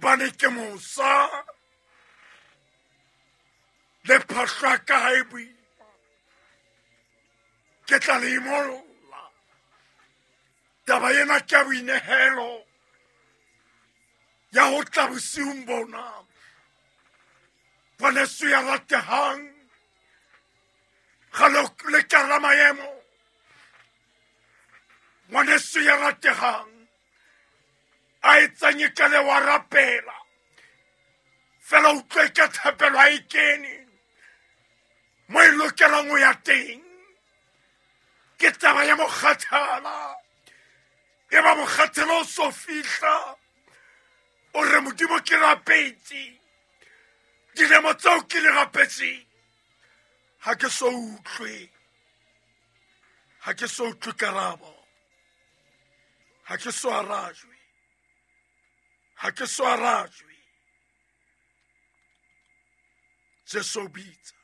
Hobane ke mosa le phahlo ya ka ha e boima, ke tla le imolla. Taba ena ke ya boinehelo ya ho tla bosiung bona. Ngwaneso ya ratehang, ga le ka la maemo. Ngwaneso ya ratehang, a etsang e ka le wa rapela fela utlwe ka thapelo ha e kene mo e lokelang ho ya teng. Ke taba ya mokgathala, e ba mokgathala o so fihla, o re Modimo ke rapetse dilemo tseo ke li rapetseng, ha ke so utlwe, ha ke so utlwe karabo, ha ke so arajwe, ha ke so arajwe. Jesu o bitsa.